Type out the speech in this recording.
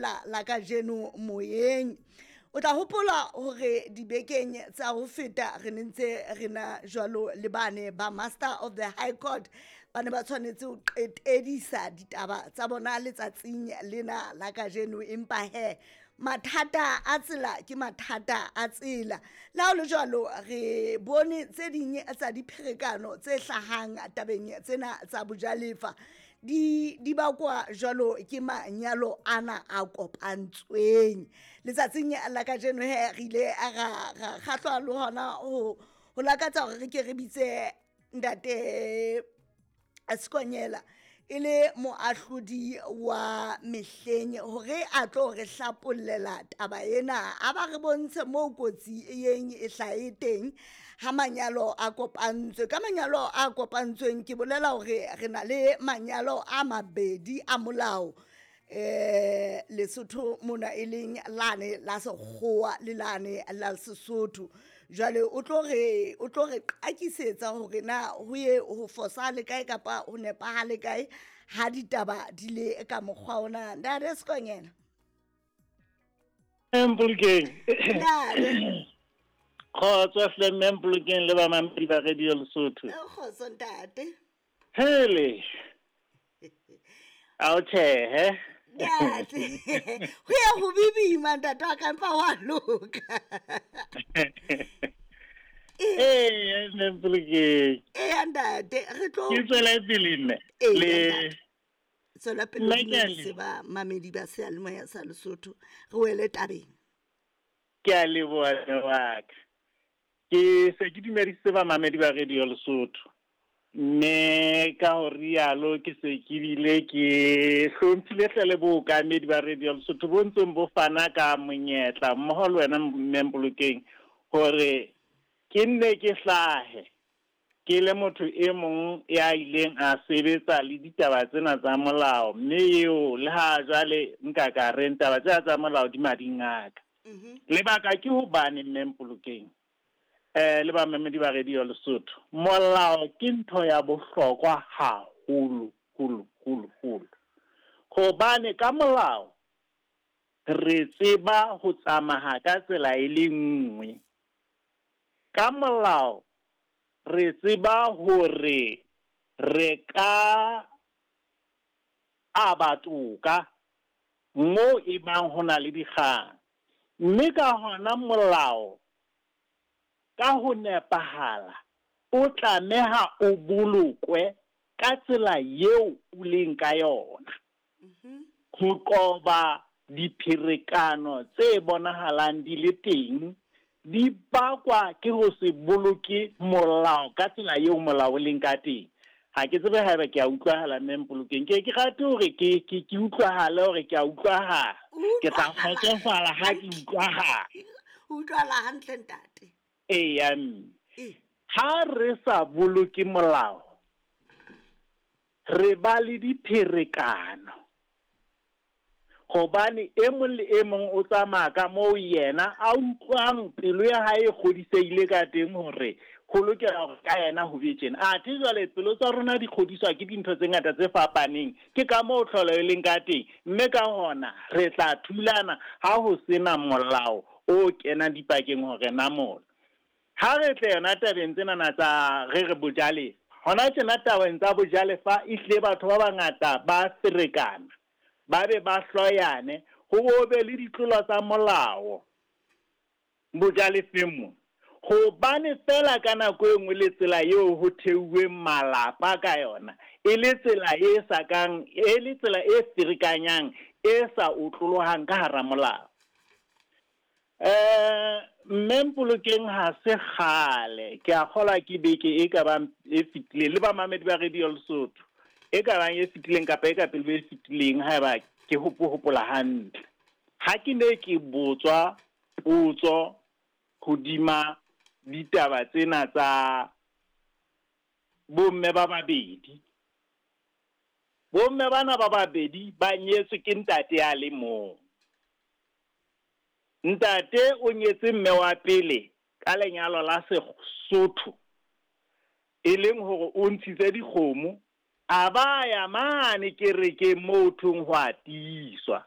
theohela la kajeno moyeng. O tla hopola hore dibekeng tsa ho feta re ne ntse re na jwalo le bane ba Master of the High Court, ba ne ba tshwanetse ho qetedisa ditaba tsa bona letsatsing lena la kajeno, empa he mathata a tsela ke mathata a tsela. Le ha ho le jwalo, re bone tse ding tsa dipherekano tse hlahang tabeng tsena tsa bojalefa di bakwa jwalo ke manyalo ana a kopantsweng. Letsatsing la kajeno he re ile ra kgahlwa le hona ho lakatsa hore re ke re bitse ntate Sekonyela e le moahlodi wa mehleng hore a tlo re hlapollela taba ena, a ba re bontshe moo kotsi e yeng e hlahe teng ha manyalo a kopantswe. Ka manyalo a kopantsweng ke bolela hore re na le manyalo a mabedi a molao Lesotho mona, e leng lane la sekgowa le lane la Sesotho. Jwale o tlo re qakisetsa hore na ho ye ho fosahale kae kapa ho nepahale kae ha ditaba di le ka mokgwa ona. Ntate Sekonyela. Mpolokeng. Ntate. Kgotso hle mme Mpolokeng le bamamedi ba Radio Lesotho. Kgotso ntate. Hele. A o tjhehe. Ntate. Ho ya ho bibima ntate wa ka, empa wa loka. Ee, mme Mpolokeng. Ee ntate, re tlo ke tswela pele mme. Le tswela pele le ba mamedi ba seyalemoya sa Lesotho, re wele tabeng. Ke a leboha wa ka. Ke se ke dumedisitse ba mamedi ba Radio Lesotho. Mme ka ho rialo ke se ke bile ke hlomphile hle le bookamedi ba Radio Lesotho bo ntseng bo fana ka monyetla mmoho le wena mme Mpolokeng hore ke nne ke hlahe ke le motho e mong ya ileng a sebetsa le ditaba tsena tsa molao, mme eo le ha jwale nka ka reng taba tsena tsa molao di mading a ka. Lebaka ke hobane mme Mpolokeng le bamamedi ba Radio Lesotho, molao ke ntho ya bohlokwa haholo holo holo holo, hobane ka molao re tseba ho tsamaya ka tsela e le nngwe. Ka molao re tseba hore re ka aba toka moo e bang ho na le dikgang, mme ka hona molao ka ho nepahala o tlameha o bolokwe ka tsela eo o leng ka yona, ho qoba dipherekano tse bonahalang di le teng di bakwa ke ho se boloke molao ka tsela eo molao o leng ka teng. Ha ke tsebe haeba ke a utlwahala mme Mpolokeng, ke ke rate hore ke utlwahale hore ke a utlwahala. Ke tla kgotsofala ha ke utlwahala. Utlwahala hantle ntate. Eya mme. Ha re sa boloke molao, re ba le dipherekano, hobane e mong le e mong o tsamaya ka moo yena a utlwang pelo ya hae e kgodisehile ka teng hore ho lokela hore ka yena ho be tjena. Athe jwale pelo tsa rona di kgodiswa ke dintho tse ngata tse fapaneng, ke ka moo tlholo e leng ka teng, mme ka hona re tla thulana ha ho sena molao o kenang dipakeng hore namola. Ha re tle yona tabeng tsenana tsa re re bojalefa, hona tjena tabeng tsa bojalefa ehlile batho ba bangata ba ferekana, ba be ba hloyane, ho bo be le ditlolo tsa molao bojalefeng mo. Hobane fela ka nako e nngwe le tsela eo ho theuweng malapa ka yona e le tsela e sa kang, e le tsela e ferekanyang, e sa otlolohang ka hara molao. Mme Mpolokeng ha se kgale, ke a kgolwa ke beke e ka bang e fetileng, le bamamedi ba Radio Lesotho e ka bang e fetileng kapa e ka pele e fetileng, haeba ke hopola hantle, ha ke ne ke botswa potso hodima ditaba tsena tsa bomme ba babedi. Bomme bana ba babedi ba nyetswe ke ntate a le mong. Ntate o nyetse mme wa pele ka lenyalo la Sesotho, e leng hore o ntshitse dikgomo, a ba ya mane kerekeng moo thong ho a tiiswa.